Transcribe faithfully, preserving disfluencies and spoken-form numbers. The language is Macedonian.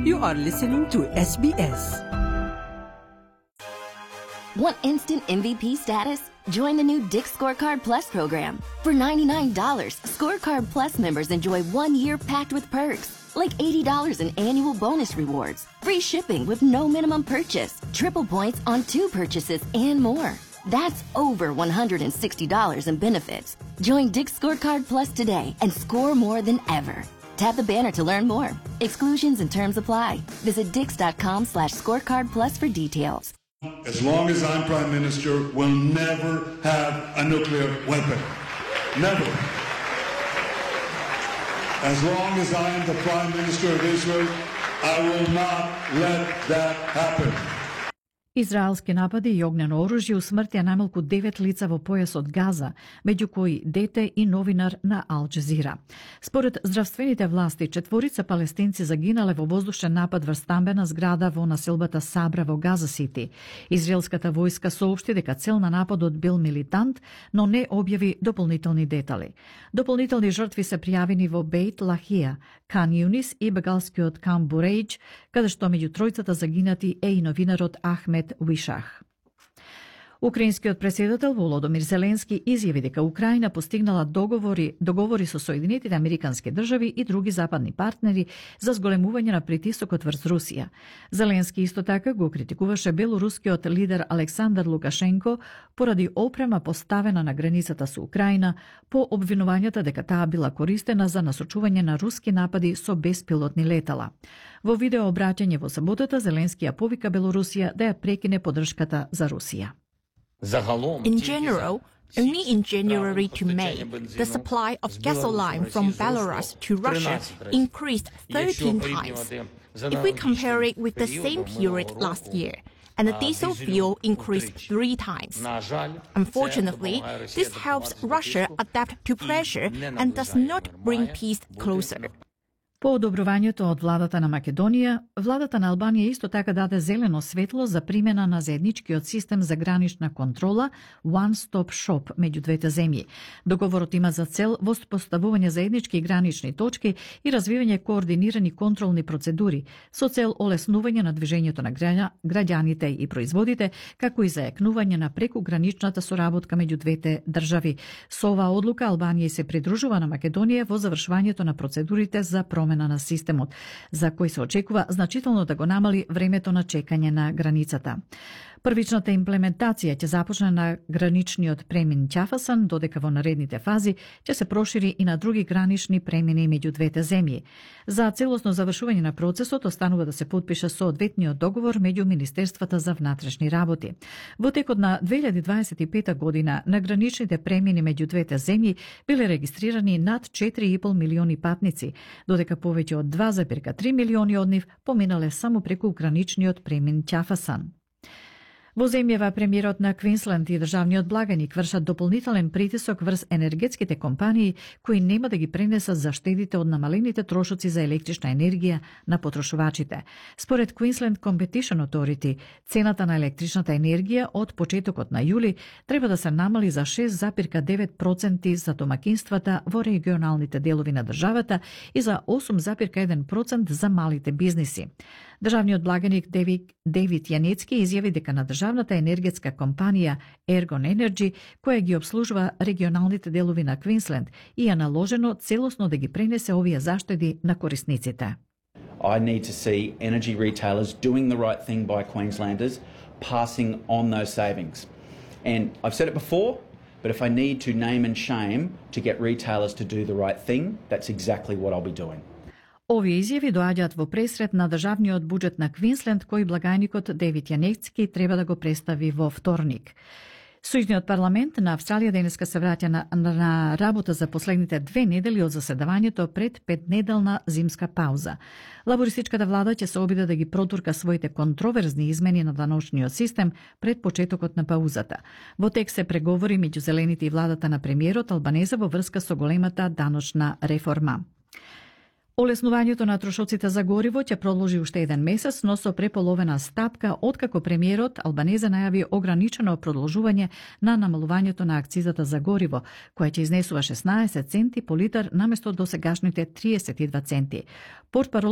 You are listening to S B S. Want instant M V P status? Join the new Dick's Scorecard Plus program. For ninety-nine dollars, Scorecard Plus members enjoy one year packed with perks, like eighty dollars in annual bonus rewards, free shipping with no minimum purchase, triple points on two purchases, and more. That's over one hundred sixty dollars in benefits. Join Dick's Scorecard Plus today and score more than ever. Tap the banner to learn more. Exclusions and terms apply. Visit dix.com slash scorecard plus for details. As long as I'm Prime Minister, we'll never have a nuclear weapon. Never. As long as I am the Prime Minister of Israel, I will not let that happen. Израелски напади и огнено оружје усмртија најмалку девет лица во појасот Газа, меѓу кои дете и новинар на Ал Джазира. Според здравствените власти, четворица палестинци загинале во воздушен напад врз стамбена зграда во населбата Сабра во Газа Сити. Израелската војска соопшти дека цел на нападот бил милитант, но не објави дополнителни детали. Дополнителни жртви се пријавени во Бейт Лахија, Кан Юнис и бегалскиот Кам Бурејдж, каде што меѓу тројцата загинати е и новинарот Ахмед Вишах. Украинскиот претседател Володомир Зеленски изјави дека Украина постигнала договори, договори со Соединетите Американски држави и други западни партнери за зголемување на притисокот врз Русија. Зеленски исто така го критикуваше белорускиот лидер Александар Лукашенко поради опрема поставена на границата со Украина по обвинувањата дека таа била користена за насочување на руски напади со беспилотни летала. Во видео обраќање во саботата Зеленски ја повика Белорусија да ја прекине поддршката за Русија. In general, only in January to May, the supply of gasoline from Belarus to Russia increased thirteen times. If we compare it with the same period last year, and the diesel fuel increased three times. Unfortunately, this helps Russia adapt to pressure and does not bring peace closer. По одобрувањето од владата на Македонија, владата на Албанија исто така даде зелено светло за примена на заедничкиот систем за гранична контрола One Stop Shop меѓу двете земји. Договорот има за цел воспоставување заеднички гранични точки и развивање координирани контролни процедури со цел олеснување на движењето на граѓаните и производите, како и зајакнување на прекуграничната соработка меѓу двете држави. Со оваа одлука Албанија се придружува на Македонија во завршувањето на процедурите за промена на системот, за кој се очекува значително да го намали времето на чекање на границата. Првичната имплементација ќе започне на граничниот премин Ќафасан, додека во наредните фази ќе се прошири и на други гранични премини меѓу двете земји. За целосно завршување на процесот останува да се потпише соодветниот договор меѓу Министерствата за внатрешни работи. Во текот на две илјади дваесет и пета година на граничните премини меѓу двете земји биле регистрирани над четири и пол милиони патници, додека повеќе од два зарез три милиони од нив поминале само преку граничниот премин Ќафасан. Во земјава премиерот на Квинсленд и државниот благаник вршат дополнителен притисок врз енергетските компании кои нема да ги пренесат заштедите од намалените трошоци за електрична енергија на потрошувачите. Според Queensland Competition Authority, цената на електричната енергија од почетокот на јули треба да се намали за шест зарез девет проценти за домакинствата во регионалните делови на државата и за осум зарез еден проценти за малите бизниси. Државниот благаник Девид Јанецки изјави дека на државната енергетска компанија Ergon Energy, која ги обслужува регионалните делови на Квинсленд, и е наложено целосно да ги пренесе овие заштеди на корисниците. I need to see energy retailers doing the right thing by Queenslanders, passing on those savings. And I've said it before, but if I need to name and shame to get retailers to do the right thing, that's exactly what I'll be doing. Овие изјави доаѓаат во пресред на државниот буџет на Квинсленд, кој благајникот Девид Јанецки треба да го представи во вторник. Сојузниот парламент на Австралија денеска се враќа на, на работа за последните две недели од заседавањето пред петнеделна зимска пауза. Лабористичката влада ќе се обиде да ги протурка своите контроверзни измени на даночниот систем пред почетокот на паузата. Во тек се преговори меѓу зелените и владата на премиерот Албанезе во врска со големата даночна реформа. Олеснувањето на трошоците за гориво ќе продолжи уште еден месец, но со преполовена стапка откако премиерот Албанезе најави ограничено продолжување на намалувањето на акцизата за гориво, која ќе изнесува шеснаесет центи по литар наместо досегашните триесет и два центи. Портпарол